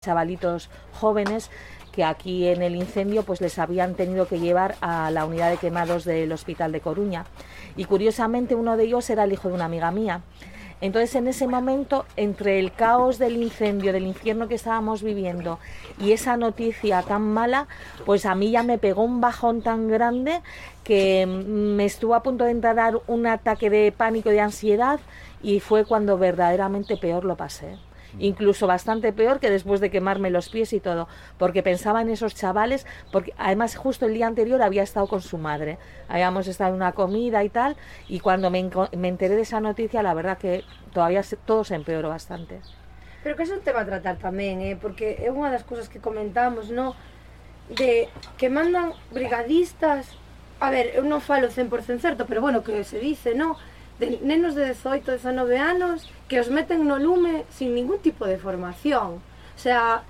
chavalitos jóvenes que aquí en el incendio pues les habían tenido que llevar a la unidad de quemados del Hospital de Coruña, y curiosamente uno de ellos era el hijo de una amiga mía. Entonces, en ese momento, entre el caos del incendio, del infierno que estábamos viviendo y esa noticia tan mala, pues a mí ya me pegó un bajón tan grande que me estuvo a punto de entrar un ataque de pánico y de ansiedad, y fue cuando verdaderamente peor lo pasé. Incluso bastante peor que después de quemarme los pies y todo, porque pensaba en esos chavales, porque además justo el día anterior había estado con su madre, habíamos estado en una comida y tal, y cuando me enteré de esa noticia, la verdad que todavía todo se empeoró bastante. Pero que é un tema a tratar tamén, porque é unha das cousas que comentamos, no? De que mandan brigadistas, a ver, eu non falo 100% certo, pero bueno, que se dice, no? De nenos de 18, 19 anos que os meten no lume sin ningún tipo de formación. O sea,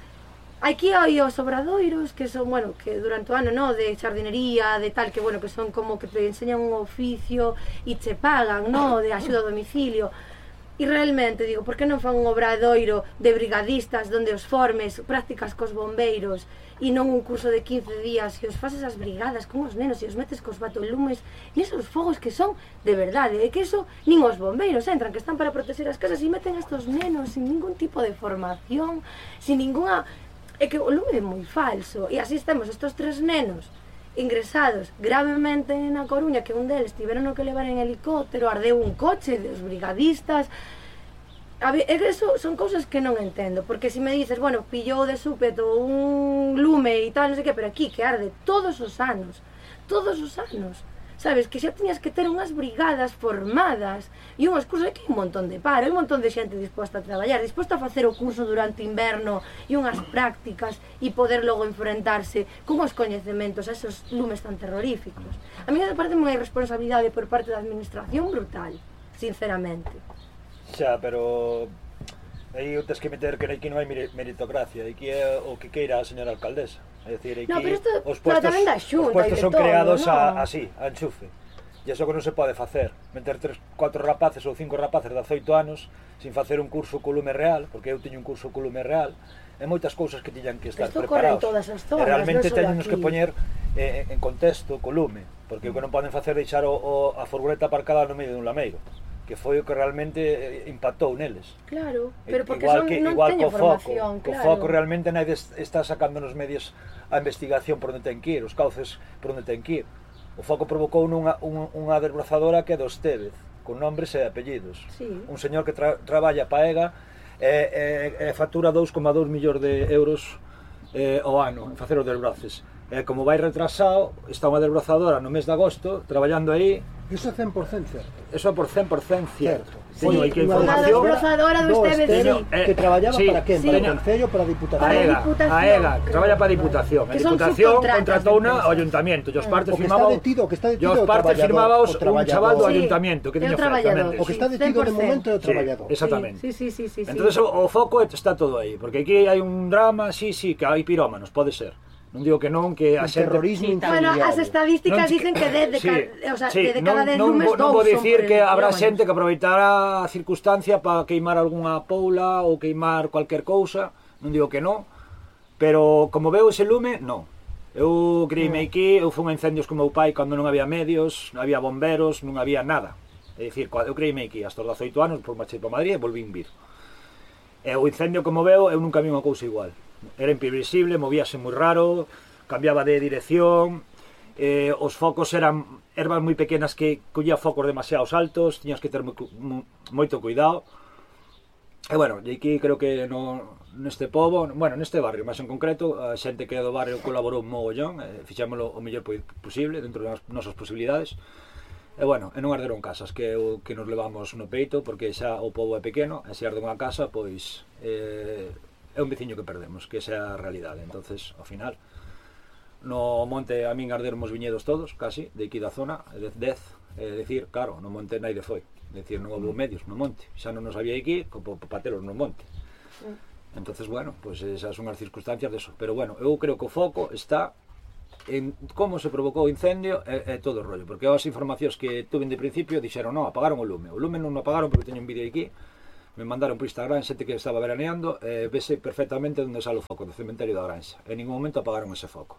aquí hai os obradoiros que son, bueno, que durante o ano, no, de xardinería, de tal, que bueno, que son como que te enseñan un oficio e che pagan, no, de axuda a domicilio. E realmente, digo, por que non fan un obradoiro de brigadistas donde os formes prácticas cos bombeiros e non un curso de 15 días e os fases as brigadas con os nenos e os metes cos batolumes nesos fogos que son de verdade, e que eso nin os bombeiros entran, que están para proteger as casas, e meten a estos nenos sin ningún tipo de formación, sin ninguna... É que o lume é moi falso, e así temos estos 3 nenos ingresados gravemente na Coruña, que un deles tiveron que levar en helicóptero, ardeu un coche dos brigadistas. A ver, eso son cousas que non entendo, porque se me dices, bueno, pillou de súpeto un lume e tal, non sei que, pero aquí que arde todos os anos, sabes, que xa tiñas que ter unhas brigadas formadas e unhas cousas, que hai un montón de paro, hai un montón de xente disposta a traballar, disposta a facer o curso durante inverno e unhas prácticas e poder logo enfrentarse con os coñecementos a esos lumes tan terroríficos. A mí me parece unha irresponsabilidade por parte da administración brutal, sinceramente. Xa, pero aí tes que meter que aquí non hai meritocracia, aquí é o que queira a señora alcaldesa. É dicir, aquí os puestos son creados así, a enchufe. E iso que non se pode facer, meter 4 rapaces ou 5 rapaces de 18 anos sin facer un curso co lume real, porque eu teño un curso co lume real, e moitas cousas que tiñan que estar preparados. E realmente teñenos que poñer en contexto co lume, porque o que non poden facer é deixar a furgoneta aparcada no medio dun lameiro, que foi o que realmente impactou neles. Claro, pero porque non teño formación, claro. O foco realmente nadie está sacando nos medios a investigación por onde ten que ir, os cauces por onde ten que ir. O foco provocou unha desbrozadora que é do Estévez, con nombres e apellidos. Sí. Un señor que traballa pa EGA e factura 2,2 millóns de euros ao ano en facer os desbroces. Como vai retrasado, está unha desbrozadora no mes de agosto traballando aí. Iso é 100% certo. Eso é por 100% cierto. Teño aí que información. Unha desbrozadora do Estévez, que traballaba para quen? Para o Concello, para a Diputación? A EGA, que traballa para a Diputación. A Diputación contratouna ao Ayuntamiento. E os partes firmaba un chaval do Ayuntamiento que tiña oferta. O que está detido de momento é o traballador. Exactamente. Sí. Entonces o foco está todo aí, porque aquí hai un drama, sí, que hai pirómanos, pode ser. Non digo que non, que a xente... Bueno, as estadísticas dicen que de cada 10 lumes, 2 non vou dicir que habrá xente que aproveitará a circunstancia para queimar algunha poula ou queimar cualquier cousa, non digo que non, pero como veo ese lume, non. Eu creíme aquí, eu fui a incendios con meu pai cando non había medios, non había bomberos, non había nada. É dicir, eu creíme aquí hasta os 18 anos, por marchei para Madrid e volvín vir. E o incendio, como veo, eu nunca vi unha cousa igual. Era imprevisible, movíase moi raro, cambiaba de dirección, os focos eran ervas moi pequenas que collía focos demasiados altos, tiñas que ter moito cuidado. E bueno, e aquí creo que neste pobo, bueno, neste barrio, máis en concreto, a xente que é do barrio colaborou un mogollón, fixámoslo o mellor posible, dentro das nosas posibilidades. E bueno, e non arderon casas, que é o que nos levamos no peito, porque xa o pobo é pequeno, e se arde unha casa, pois... é un veciño que perdemos, que esa é a realidade. Entonces, ao final, no monte a min arderon os viñedos todos, casi, de aquí da zona, de 10, é dicir, claro, no monte naide foi, é dicir, non houve medios no monte, xa non nos había aquí, como pateros no monte. Entonces, bueno, pues esas son as circunstancias de eso, pero bueno, eu creo que o foco está en como se provocou o incendio e todo o rollo, porque as informacións que tuve de principio dixeron, non, apagaron o lume non o apagaron porque teño un vídeo aquí. me mandaron por Instagram xente que estaba veraneando, vese perfectamente onde sale o foco do cementerio da Granxa. En ningún momento apagaron ese foco.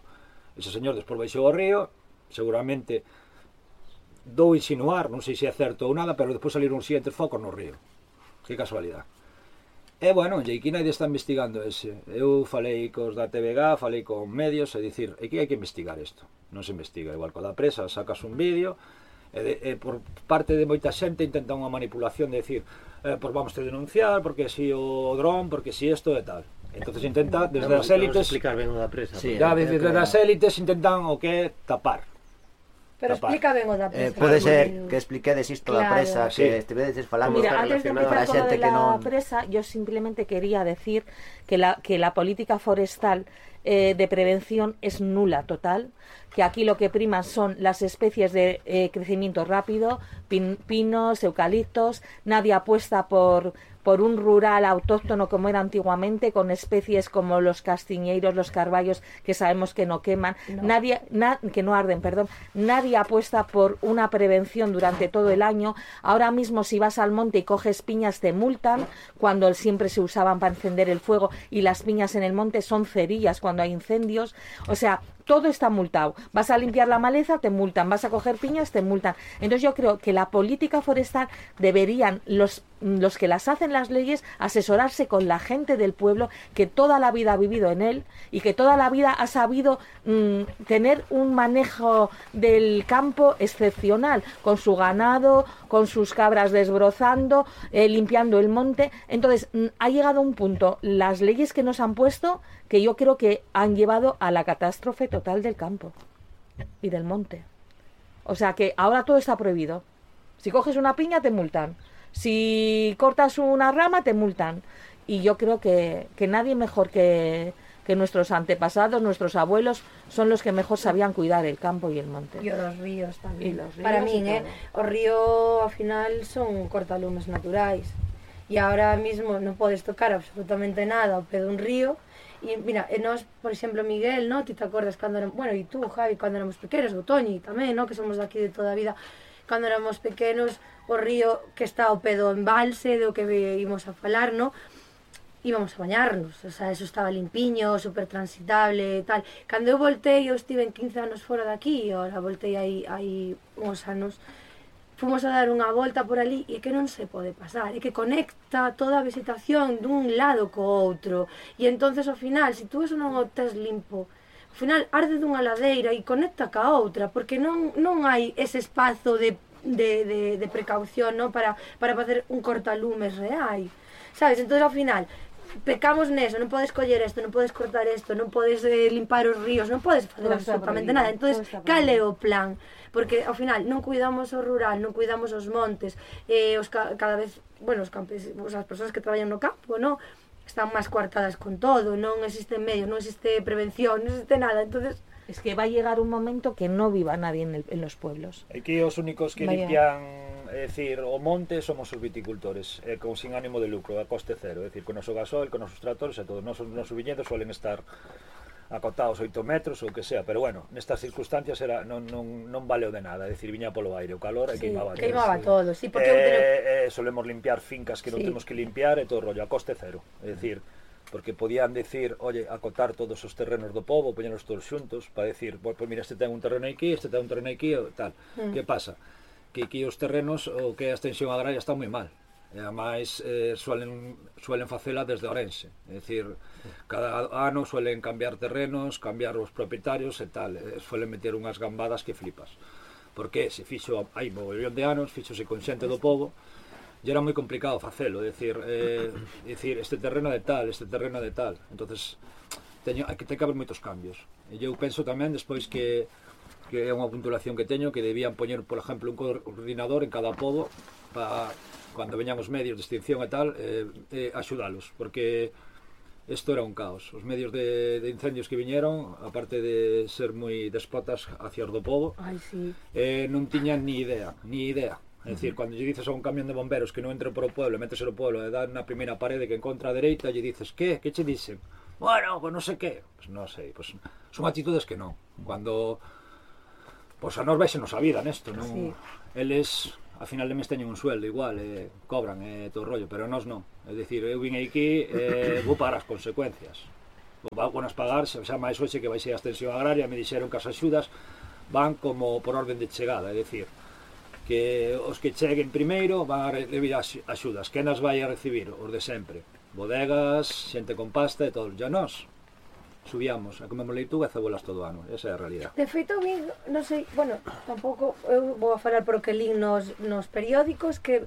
Ese señor despois baixou ao río, seguramente dou insinuar, non sei se é certo ou nada, pero despois saliron os siguientes focos no río. Que casualidade. E, bueno, e aquí nadie está investigando ese. Eu falei cos da TVG, falei con medios, e dicir, aquí hai que investigar isto. Non se investiga, igual co da presa, sacas un vídeo, e por parte de moita xente intentan unha manipulación de dicir, pois vamos a denunciar, porque si o dron, porque si isto e tal. Entonces intenta, desde as élites, explicar ben o da presa. sí, desde as élites intentan o que tapar. Pero explica ben o da presa. Pode ser que expliquedes isto da presa, que estivedes falando. Mira, antes de empezar con lo de la presa, yo simplemente quería decir que la política forestal de prevención es nula total, que aquí lo que priman son las especies de crecimiento rápido, pinos, eucaliptos, nadie apuesta por un rural autóctono como era antiguamente, con especies como los castiñeiros, los carballos, que sabemos que no queman, que no arden, perdón. Nadie apuesta por una prevención durante todo el año. Ahora mismo si vas al monte y coges piñas te multan, cuando siempre se usaban para encender el fuego, y las piñas en el monte son cerillas cuando hay incendios. O sea, todo está multado. Vas a limpiar la maleza, te multan. Vas a coger piñas, te multan. Entonces yo creo que la política forestal deberían los que las hacen las leyes asesorarse con la gente del pueblo, que toda la vida ha vivido en él y que toda la vida ha sabido tener un manejo del campo excepcional, con su ganado, con sus cabras desbrozando, limpiando el monte. Entonces ha llegado un punto, las leyes que nos han puesto, que yo creo que han llevado a la catástrofe total del campo y del monte. O sea que ahora todo está prohibido. Si coges una piña te multan, si cortas una rama te multan. Y yo creo que nadie mejor que nuestros antepasados, nuestros abuelos, son los que mejor sabían cuidar el campo y el monte. E os ríos tamén. Los ríos, para min, os ríos ao final son cortalumes naturais. E ahora mismo non podes tocar absolutamente nada ao pé dun río. E mira, nós, por exemplo, Miguel, no? Ti te acordas cando éramos, bueno, e tú, Javi, cando éramos pequenos, o Toñi tamén, no? Que somos daqui de toda a vida, cando éramos pequenos, o río que está ao pé do embalse, do que íbamos a falar, no? Íbamos a bañarnos, o sea, eso estaba limpiño, super transitable e tal. Cando eu voltei, eu estive en 15 anos fora daqui, e ahora voltei aí uns anos, fomos a dar unha volta por ali e que non se pode pasar, e que conecta toda a vegetación dun lado co outro, e entonces ao final, se tú eso non o tes limpo, ao final arde dunha ladeira e conecta ca outra, porque non hai ese espazo de precaución, no? para facer un cortalumes real, sabes? Entonces ao final pecamos neso, non podes coller isto, non podes cortar isto, non podes limpar os ríos, non podes facer absolutamente nada. Entonces, cal é o plan? Porque ao final non cuidamos o rural, non cuidamos os montes, cada vez, bueno, os campesinos, as persoas que traballan no campo, non? Están máis coartadas con todo, non existen medios, non existe prevención, non existe nada. Entonces, es que va a llegar un momento que no viva nadie en los pueblos. Aquí os únicos que limpian, é dicir, o monte somos os viticultores, con sin ánimo de lucro, a coste cero, é dicir, con o noso gasoil, con os nosos tractores e todo. Nosos viñedos suelen estar acotados 8 metros ou que sea, pero bueno, nestas circunstancias non valeu de nada, é dicir, viña polo aire, o calor e queimaba todo. Sí, porque solemos limpiar fincas que non temos que limpiar e todo o rollo a coste cero, é dicir, porque podían decir, oye, acotar todos os terrenos do pobo, poñernos todos xuntos, para decir, pues mira, este ten un terreno aquí, este ten un terreno aquí, tal. Que pasa? Que aquí os terrenos, o que a extensión agraria está moi mal. E ademais suelen facela desde Ourense, é dicir, cada ano suelen cambiar terrenos, cambiar os propietarios e tal, suelen meter unhas gambadas que flipas. Porque se fixo, hai mogollón de anos, fixose con xente do pobo, e era moi complicado facelo, decir, este terreno de tal, este terreno de tal. Entonces, hai que haber moitos cambios. E eu penso tamén, despois que é unha puntulación que teño, que debían poñer, por exemplo, un coordinador en cada pobo para, cando veñan os medios de extinción e tal, axudalos, porque isto era un caos. Os medios de incendios que viñeron, aparte de ser moi despotas hacia os do pobo, non tiñan ni idea. É dicir, cando lle dices a un camión de bomberos que non entre por o pueblo, metes no pueblo e dan na primeira parede que encontra a dereita, lle dices, que che dicen? Bueno, pues non sei que. Pues non sei, pues son actitudes que non. Cando, pues a nos vexenos a vida nesto, non? Eles, a final de mes teñen un sueldo igual, cobran todo o rollo, pero nós non. É dicir, eu vim aquí, vou pagar as consecuencias. Vou nas pagar, xa máis hoxe que vai ser a extensión agraria, me dixeron que as axudas van como por orden de chegada, é dicir, que os que cheguen primeiro van a recibir axudas. Que nas vai a recibir? Os de sempre. Bodegas, xente con pasta e todo. Ya nós subíamos a comemos leituga e cebolas todo o ano. Esa é a realidad. De feito, a mí, non sei, bueno, tampouco, eu vou a falar por o que lín nos periódicos que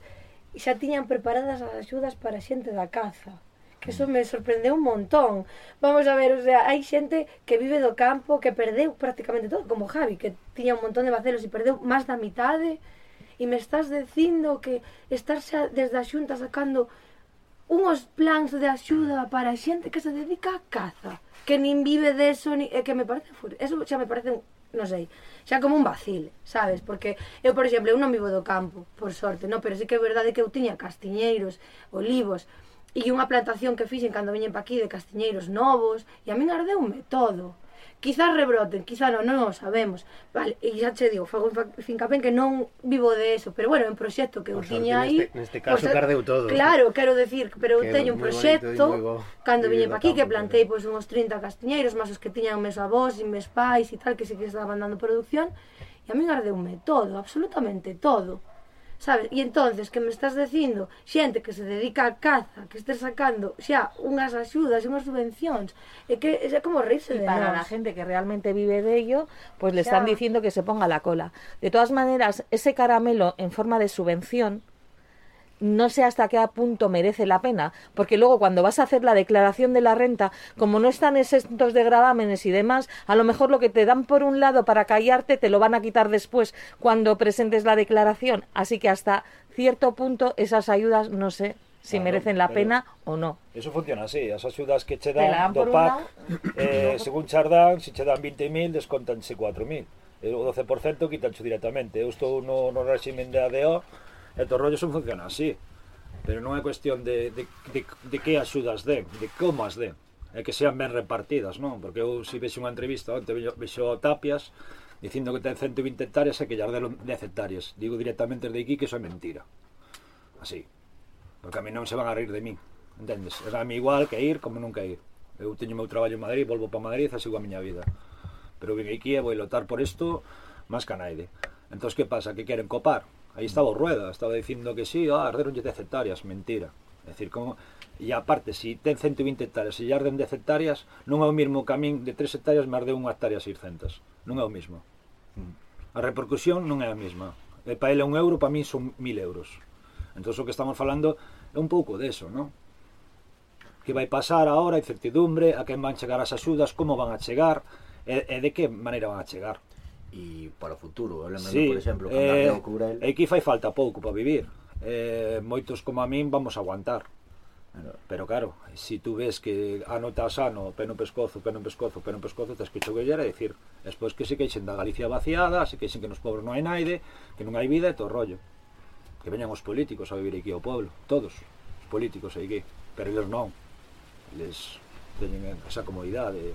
xa tiñan preparadas as axudas para xente da caza. Que eso me sorprendeu un montón. Vamos a ver, o sea, hai xente que vive do campo, que perdeu prácticamente todo, como Javi, que tiña un montón de bacelos e perdeu máis da mitade, e me estás dicindo que estás xa desde a Xunta sacando unhos plans de axuda para a xente que se dedica a caza, que nin vive deso, que me parece eso xa me parece, non sei, xa como un vacil, sabes? Porque eu, por exemplo, eu non vivo do campo, por sorte, non? Pero sí que é verdade que eu tiña castiñeiros, olivos, e unha plantación que fixen cando viñen pa aquí de castiñeiros novos, e a min ardeume todo. Quizás rebroten, quizás non o sabemos. Vale, e xa che digo, fago fincapé que non vivo de eso, pero bueno, é un proxecto que eu tiña aí. Neste caso cardeu todo. Claro, quero decir, pero eu teño un proxecto cando viñen pa aquí que plantei pois uns 30 castiñeiros, máis os que tiñan meus avós e meus pais e tal, que sí que estaban dando producción, e a min ardeume todo, absolutamente todo. Sabes? E entonces que me estás dicindo xente que se dedica a caza, que estés sacando xa unhas axudas e unhas subvencións, é que é como reírse de para nós. La gente que realmente vive de ello, pues le están diciendo que se ponga la cola. De todas maneras, ese caramelo en forma de subvención no sé hasta qué punto merece la pena, porque luego cuando vas a hacer la declaración de la renta, como no están exentos de gravámenes y demás, a lo mejor lo que te dan por un lado para callarte te lo van a quitar después cuando presentes la declaración, así que hasta cierto punto esas ayudas no sé si merecen la pena o no. Eso funciona así, as axudas que che dan do PAC, según Chardán, se che dan 20.000, descontanse 4.000, o 12% quitancho directamente. Eu estou no régimen de ADO, e todo rollo son funciona así, pero non é cuestión de que axudas den, de como as den, é que sean ben repartidas, non? Porque eu si vexo unha entrevista onte vexo Tapias dicindo que ten 120 hectáreas e que llas deron 10 hectáreas, digo directamente desde aquí que iso é mentira, así, porque a mí non se van a reír de mí, entendes? É a mí igual que ir como nunca ir. Eu teño o meu traballo en Madrid, volvo para Madrid e sigo a miña vida, pero vim aquí e vou lotar por isto máis que a naide. Entón, que pasa? Que queren copar? Aí estaba o Rueda, estaba dicindo que sí, arderonlle 10 hectáreas, mentira. É dicir, como... E aparte, se ten 120 hectáreas e arden 10 hectáreas, non é o mesmo que a min de 3 hectáreas me arde 1 hectárea 600. Non é o mesmo. A repercusión non é a mesma. E para ele €1, para min son 1.000 euros. Entón, o que estamos falando é un pouco deso, non? Que vai pasar agora, incertidumbre, a quen van chegar as axudas, como van a chegar, e de que maneira van a chegar. E para o futuro, eu lembro, sí, por exemplo, cando ardeu Courel. Aquí fai falta pouco para vivir, moitos como a min vamos a aguantar, pero claro, se tú ves que ano tras ano, peno pescozo, tens que choguellar e dicir, despois que se queixen da Galicia vaciada, se queixen que nos pobres non hai naide, que non hai vida e todo rollo, que veñan os políticos a vivir aquí ao pueblo, todos os políticos aquí, pero eles non, eles teñen esa comodidade.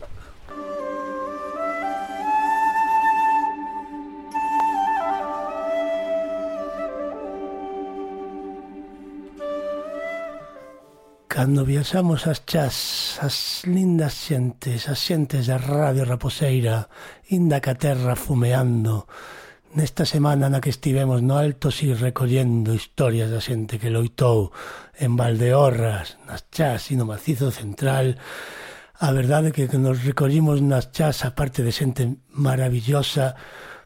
Cando viaxamos as chás, as lindas xentes, as xentes da Radio Raposeira, inda ca terra fumeando, nesta semana na que estivemos no Alto Si recollendo historias da xente que loitou en Valdeorras, nas chás e no Macizo Central, a verdade que nos recollimos nas chás, a parte de xente maravillosa,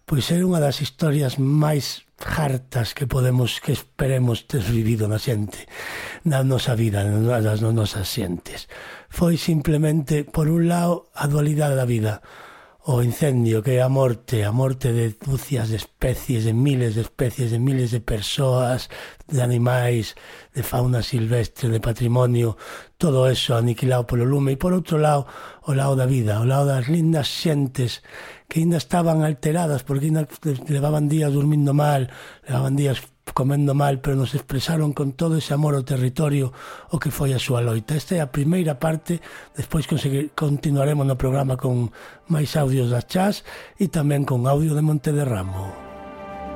pois é unha das historias máis hartas que esperemos ter vivido na xente, na nosa vida, nas nosas xentes. Foi simplemente, por un lado, a dualidade da vida, o incendio, que é a morte de dúcias de especies, de miles de especies, de miles de persoas, de animais, de fauna silvestre, de patrimonio, todo eso aniquilado polo lume, e por outro lado, o lado da vida, o lado das lindas xentes que ainda estaban alteradas porque ainda levaban días dormindo mal, levaban días comendo mal, pero nos expresaron con todo ese amor ao territorio o que foi a súa loita. Esta é a primeira parte, despois continuaremos no programa con máis audios das chás e tamén con audio de Monte de Ramo.